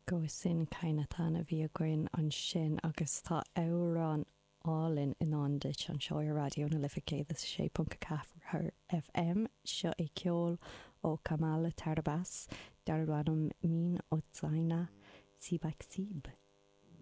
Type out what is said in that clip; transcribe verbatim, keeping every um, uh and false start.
Go sin Cainatan a bhí againn ansin agus tá amhrán álainn i ndán duit anseo ar Raidió na Life céad is sé ponc ceathair FM seo é ceol ó Kamala Tarbas darb ainm Min Otzaina Sibaxib.